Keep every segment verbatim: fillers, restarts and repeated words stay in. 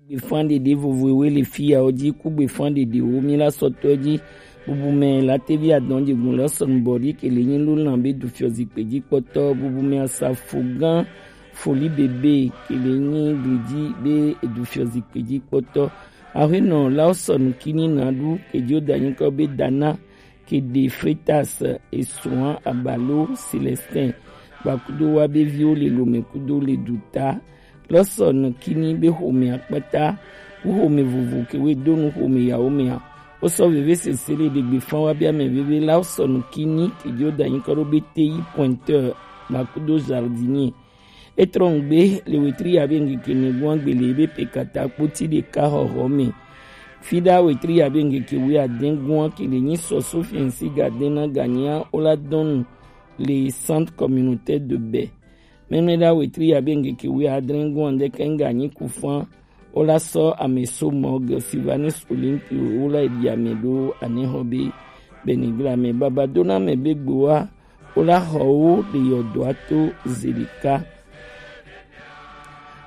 Gbefan ɖeɖe vovo ewe le fi ya wo ji ku gbefan ɖeɖe wo mi la sɔtɔ ji. Bubumɛ la tevi adɔn jegun lɔ sɔn bɔdi kele nyi lu lan be du fiɔ zikpe ji kpɔtɔ. Bubumɛ asafo gan foli bebe kele nyi gli ji be edu fiɔ zikpe ji kpɔtɔ. Ahenɔ la sɔn kini na du kejo da nyi kɔ be dana kede Fretas, Esuan Abalo Celestin, gbakudo wa be viwo le lome kudo le duta. Lɔsɔ nukini be xome akpata ku xome vovo kewe donu xome yawo mea. Wosɔ veve sese le ɖegbe fan wa be ame veve la wosɔ nukini kejo da nyi kɔ ɖo be teyi pointeur gbakudo jardinier. Etrɔ ŋgbe le wetri ya be ŋkeke ne gua gbele be pe kata kpoti ɖeka xɔxɔ me. Fida wetri ya be ŋkeke we adɛn gua kele nyi sɔ sofiɛnsi gadɛn na ganyia wola dɔnu le centre communautaire de baie. Mɛmɛɖa wetri ya be ŋkeke we adrɛn gua ŋdɛkɛ ŋganyi kufan wola sɔ ame so mɔge Silvanus Olympio wola eɖi ame ɖo anɛxɔ be bɛnigla mɛ baba dona mɛ be gbowa wola xɔ wo ɖe yɔdɔa to zeɖeka.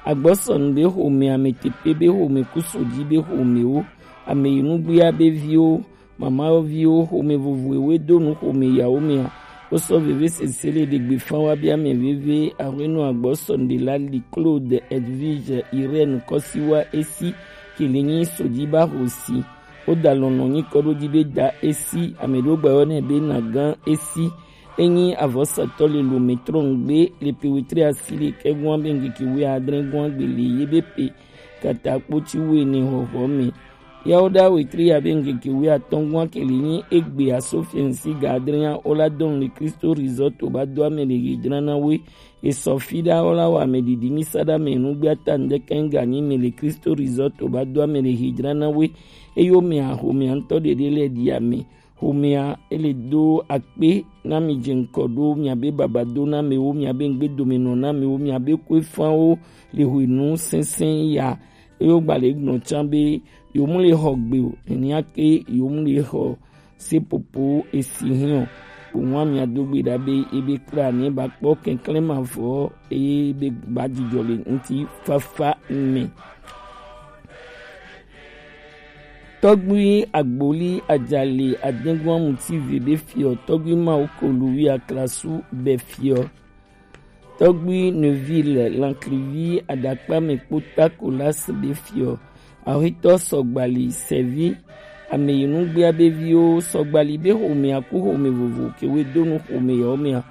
Agbɔsɔnu be xome ame tepe be xome kusoji be xomewo ame yi nugbea be viwo mamaviwo xome vovo ewe donu xome yawo mea. Wosɔ veve sese le ɖegbe fan wa be ame veve ahuenu agbɔsɔnu ɖe la li Claude Edwige Irène kɔsiwa esi kele nyi soji ba xosi. Woda lɔnlɔn nyi kɔ ɖo ji be da esi ame ɖo gba yɔ nɛ be na gan esi. Enyi avɔsatɔ le lome trɔn gbe le pe wetri asi le kɛ gua be ŋkeke we adrɛn gua gbe le ye be pe kata kpoti we ne xɔxɔ me. Yawo da wetri ya be ŋkeke we atɔn gua kele nyi egbe asofiɛnsi ga adrɛn ya wola dɔn le Kristo Resort ba do ame le hijrana we. Esɔ fi ɖa wola wa ame ɖiɖi mi sa ɖa me nugbe ata ŋdɛkɛ ŋganyi me le Kristo Resort ba do ame le hijrana we. Eyo me axome ŋtɔ ɖeɖe le ɖi ame. Xomea ele do akpe na mi dze ŋkɔ ɖo miabe babado na amewo, miabe ŋgbedomenɔ na amewo, miabe koefanwo le hwenu sɛnsɛn ya. Eyo gba le gblɔ can be yewo mu le xɔ gbe o, nenia ke yewo mu le xɔ sepopo esi hiɔ. Kpoŋua mia do gbe ɖa be ebe kpla ne ba kpɔ kɛnklɛn mavɔ eye be ba dzidzɔ le ŋuti fafa me. Tɔgbui Agboli Ajali Adengua Mutive be fiɔ, Tɔgbui Mawu Kolu wi aklasu be fiɔ, Tɔgbui Neuville Lanklivi Adakpame kpo Takolas be fiɔ, Ahwetɔ Sɔgbali Sɛvi Ameyinugbea be viwo Sɔgbali be xomea ku xome vovo ke we do nu xome yawo mea.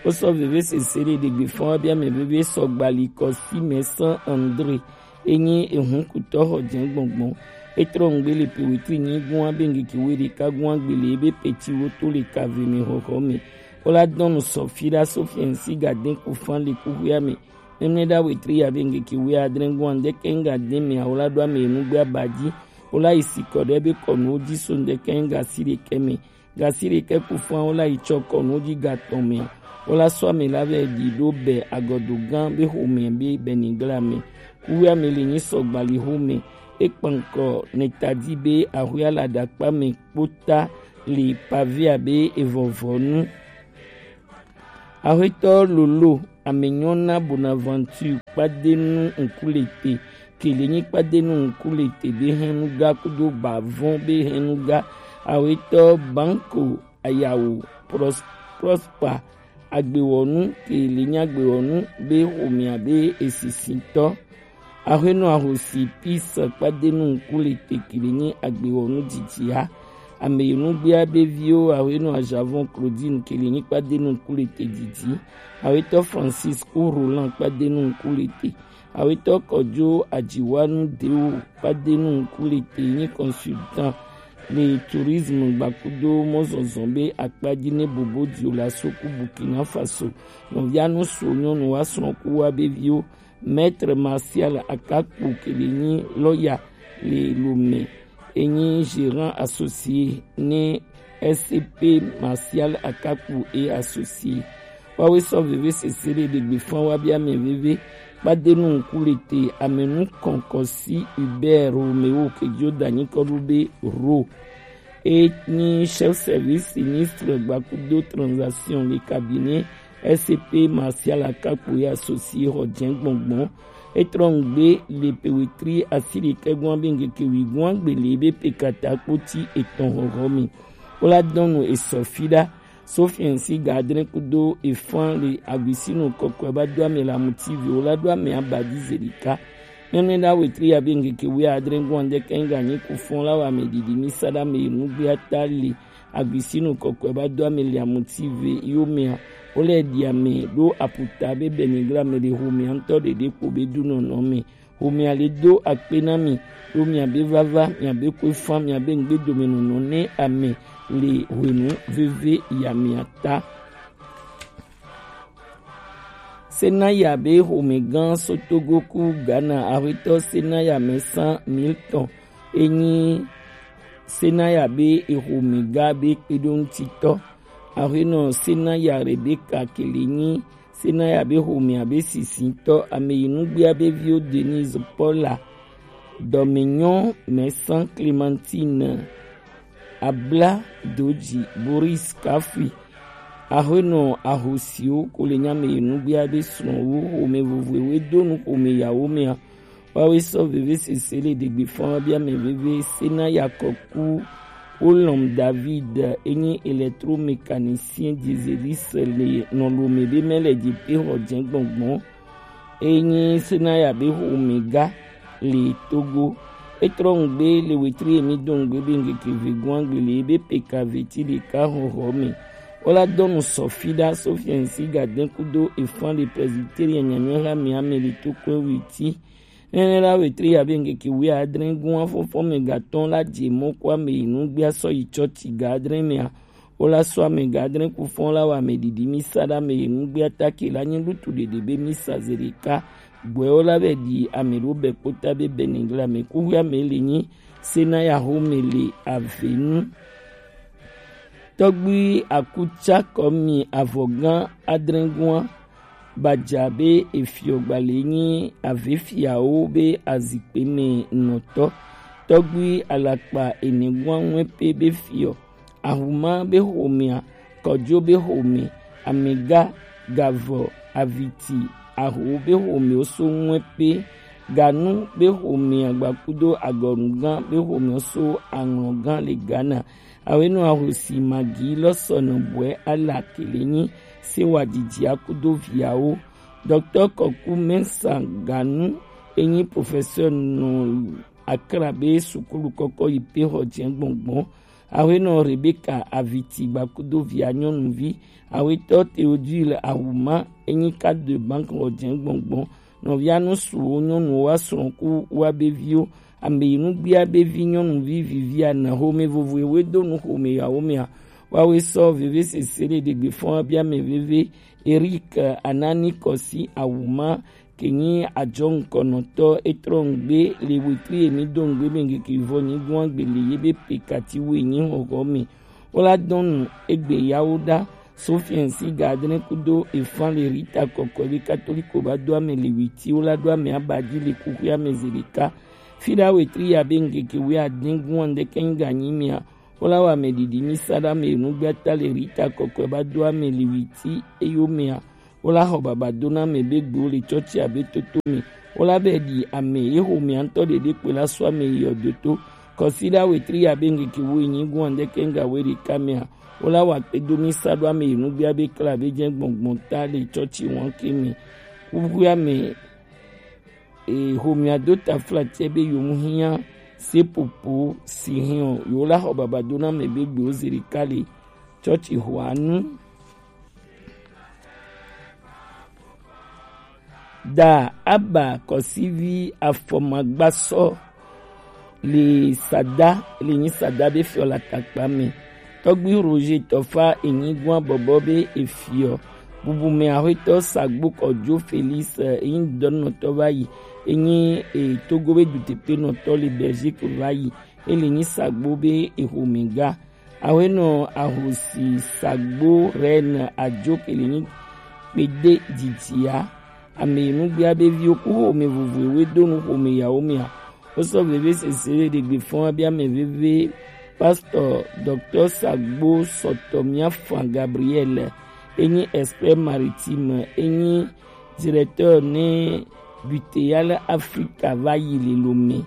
Wosɔ veve sese ɖe ɖegbe fɔn wa be ame veve Sɔgbali Kɔsi Mɛsan Andre. Enyi ehunkutɔ xɔ jɛn gbɔngbɔn. Etrɔ ŋgbe le pe wetri nyi gua be ŋgeke we ɖeka gua gbe le ebe peti wo to le kave me xɔxɔ me. Wola dɔn nu sɔ fi ɖa so fiɛnsi gaden kufan le kuxuia me. Mɛmlɛ ɖa wetri ya be ŋgeke we adrɛ gua ŋdɛkɛ ŋga den me awola ɖo ame enugbe aba ji. Wola yi sikɔ ɖe be kɔnuwo ji so ŋdɛkɛ ŋga si ɖekɛ me. Gasi ɖekɛ kufan wola yi tsɔ kɔnu ji gatɔn mɛ. Wola sɔ ame la vɛ ɖi ɖo bɛ agɔdo gã be xome be bɛnigla mɛ. Kuwe ame le nyi sɔ gbali xome. Ekpankɔ neta di be axwe ala ɖakpa mɛ kpota le pavia be evɔvɔnu. Axwetɔ Lolo Amenyɔna Bonaventure Kpadenu Nkulete, kele nyi Kpadenu Nkulete be hɛnuga kudo bavɔn be hɛnuga. Axwetɔ Banko Ayawu Pros-, Prosper Agbewɔnu, kele nyi Agbewɔnu be xomea be esisitɔ. Axwenu Ahosi Pis Kpadenu Nkulete kele nyi Agbewɔnu didi a. Ame yi nugbea be viwo Axwenu Ajavɔn Claudine kele nyi Kpadenu Nkulete didi. Axwetɔ Francisco Roland Kpadenu Nkulete. Axwetɔ Kɔjo Ajiwanu Deo Kpadenu Nkulete nyi consultant le tourisme gbakudo mɔzɔzɔ be akpaji ne bobo dio la so ku Burkina Faso. Nɔvia nu so nyɔnu wa srɔ̃ ku wa be viwo. Maître Martial Akakpo kele nyi lɔya le Lomé, enyi gérant associé ne S C P Martial Akakpo et associé. Wawe sɔ veve sese ɖe ɖegbe fan wa be ame veve Kpadenu Nkulete, ame nu kɔnkɔ si Hubert Romeo kejo danyi kɔ ɖo be Ro. E nyi chef service sinistre gbakudo transaction le cabinet S C P Martial Akakpo ya associé xɔ jɛn gbɔngbɔn. E trɔ nugbe le pe wetri asi ɖekɛ gɔn abe ŋkeke wi gɔn agbe le ebe pe kata kpoti etɔn hɔhɔ me. Wo la dɔn nu esɔ fi ɖa. Sofiɛn si ga adre kudo efan le aguisinu kɔkɔe ba do ame la muti vi wo la do ame abadi zedika. Nene la wetri abe ŋkeke wi adre gɔn de kɛn ga nyi kufɔn la wa me didi mi sa ɖa me nugbe ata le aguisinu kɔkɔe ba do ame le amuti ve yo mea. Wo le di ame ɖo aputa be benigra me le ho mea ŋutɔ ɖeɖe kpo be du nɔnɔ me. Ho mea le do akpe na mi, ɖo mia be vava, mia be kue fan, mia be ŋgbe dome nɔnɔ ne ame le hwenu veve ya mea ta. Senaya be xomegã so Togo ku Ghana, axwetɔ Senaya mɛ san mil tɔn. Enyi Senaya be exomegã be kpeɖoŋutitɔ. Axwenɔ Senaya Rebeka Kele nyi Senaya be xomea be sisitɔ, ame yi nugbea be viwo Denise Paula, Dɔmenyɔ mɛ san Clementine, Abla Doji, Boris Kafui, axwenɔ ahosiwo ko le nyame yi nugbea be srɔ̃wo xome vovovowo do nu xome yawo mea. Woawoe sɔ vevesese le ɖegbe fɔn bia mɛ veve Senaya Kɔku Olɔm David enyi électromécanicien dieseliste le nɔlome be mɛ le jepe xɔ jɛ gbɔngbɔn. Enyi Senaya be xomega le Togo. Etrɔ ŋgbe le wetri emi do ŋgbe be ŋkeke vegun agbe le ebe peka veti ɖeka xɔxɔ me. Wola dɔnu sɔfi ɖa Sofiɛn si gadɛn kudo efan le Presbyterien nyanyɔe ha mi ame le to kɔe weti. Nene la wetri abe ŋkeke wi adre gun afɔfɔ me gatɔn la je mɔ kɔ ame yi nugbea sɔ yi tsɔtsi ga adre mea. Wola sɔ ame ga adre kufɔn la wa ame didi mi sa ɖa ame yi nugbea ta ke la nyi lutu ɖeɖe be mi sa ze ɖeka. Gbɔɛ wola vɛ ɖi ame ɖo bɛ kpota be bɛnɛgla me kuxu ame le nyi Senaya xome le avenu. Tɔgbui Akutsakɔ mi avɔgã adre gua Badza be efiɔ gbalɛ nyi avefiawo be azikpe me nɔtɔ. Tɔgbui alakpa ene gua ŋue pe be fiɔ. Ahuma be xomea, kɔdzo be xome, amega, gavɔ, aviti, aho be xome oso ŋue pe, ganu be xome agbakudo agɔnugan be xome oso aŋlɔgan le Ghana. Awenɔ ahosi magi lɔ sɔnɔ bɔɛ ala kele nyi se wa didi akudo viawo. Docteur Kɔku Mensah Ganu enyi professeur nɔ Accra be sukulu kɔkɔ yi pe xɔ jɛ gbɔngbɔn. Awenɔ Rebecca Aviti gbakudo via nyɔnuvi. Awetɔ Théodule Ahuma enyi carte de banque xɔ jɛ gbɔngbɔn. Nɔvia nusuwo nyɔnuwo wa srɔ̃ ku wa be viwo. Ame yi nugbia be vi nyɔnuvi vivia na xome vovoe we do nu xome yawo mea. Wawe sɔ veve sese ɖe ɖegbe fɔn abia me veve. Eric Anani Kɔsi Awuma ke nyi ajɔ ŋkɔnɔtɔ etrɔ ŋgbe le wetri emi do ŋgbe be ŋgeke vɔ nyi gua gbe le ye be pe kati we nyi xɔxɔ me. Wola dɔnu egbe yawo ɖa. Sofiɛn si ga adre kudo efan le Rita kɔkɔe be katoliko ba do ame le witi wola do ame abadi le kuxu ame ze ɖeka. Fiɖa wetri ya be ŋgeke we adin gun andeke ŋga nyi mia. Wola wa ame didi mi sa ɖa ame nugbata le Rita kɔkɔe ba do ame le witi eyo mea. Wola xɔ baba do na ame be gbewo le tsɔtsi abe toto me. Wola be ɖi ame ye xomea ŋutɔ ɖeɖe kpe la sɔ ame yi yɔ do to. Kɔsiɖa wetri ya be ŋgeke wo yi nyi gun andeke ŋga we ɖeka mea. Wola wa kpe do mi sa ɖo ame yi nugbea be kla be jɛ gbɔngbɔn ta le tsɔtsi wɔn ke me. Kuxu ame e xomea do ta fla tse be yomu hiã sepopo si hiã o. Yo la xɔ baba do na ame be gbewo ze ɖeka le tsɔtsi xɔa nu. Da aba kɔsivi afɔmagbasɔ le sada le nyi sada be fiɔ la takpa me. Tɔgbi Roger Tɔfa enyi gua bɔbɔ be efiɔ. Bubu me ahwetɔ Sagbo Kɔdzo Felix enyi dɔnɔtɔ va yi. Enyi e, Togo be dutepenɔtɔ le Belgique va yi. Ele nyi Sagbo be exomega. Awenɔ ahosi Sagbo Reine Ajo ke le nyi kpede didia. Ame yi nugbea be viwo ku xome vovovowo do nu xome yawo mea. Wosɔ veve sese ɖe ɖegbe fɔn abia ame veve. Pastor Docteur Sagbo Sɔtɔ Miafan Gabriel enyi expert maritime, enyi directeur ne Buteya le Afrika va yi le lo me.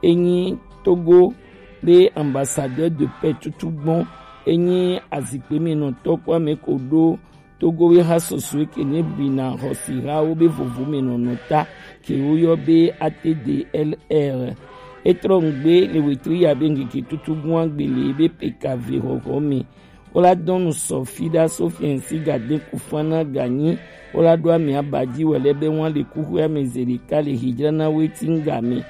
Enyi Togo be ambassadeur de paix tutugbɔn. Enyi azikpemɛnɔtɔ kpo ame ko ɖo Togo be ha soso ke ne bina xɔsihawo be vovomɛnɔnɔta ke woyɔ be A T D L R. Etrɔ ŋgbe le wetri ya be ŋkeke tutugbɔn agbele be peka ve xɔxɔ me. Wola dɔn nu sɔ fi ɖa so fiɛnsi ga de ku fan na ga nyi. Wola ɖo ame aba ji wɛ lɛ be wan le kuxwe ame ze ɖeka le hijra na we ti ŋga me.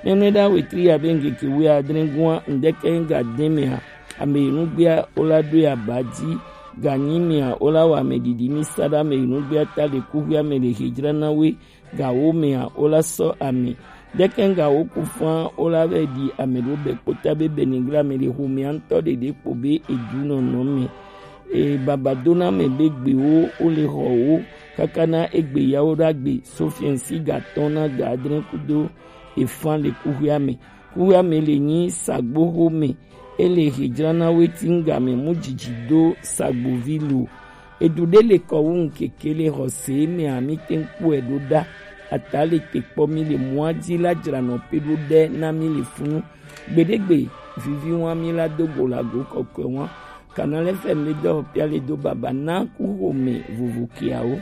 Nɛnɛ ɖa wetri ya be ŋkeke we adre gua ŋdɛkɛ ŋga de mea, ame yi nugbea wola ɖo ya aba ji ga nyi mea wola wa ame ɖiɖi mi sa ɖa ame yi nugbea ta le kuxwe ame le hijra na we ga wo mea wola sɔ ame. Ɖekɛ ŋga wo ku fan wola vɛ ɖi ame ɖo bɛ kpota be bɛ ni ŋgla ame le xomea ŋtɔ ɖeɖe kpo be edu nɔnɔ me. E baba do na ame be gbe wo wo le xɔ wo kaka na egbe ya wo ɖa gbe so fiɛnsi ga tɔn na ga adre kudo efan le kuxwea me. Kuxwea me le nyi sagbo xo me. E le hijra na we ti ŋga me mu jiji do sagbo vi lo. Edu ɖe le kɔ wu ŋkeke le xɔse me a mi te ŋkpɔe ɖo ɖa. Ata le te kpɔ mi le mɔa ji la jra nɔ pe ɖo ɖe na mi le funu. Gbeɖegbe vivi wa mi la do go la go kɔkɔe wa. Kanal F M le dɔ pia le do baba na ku xome vovo kiawo.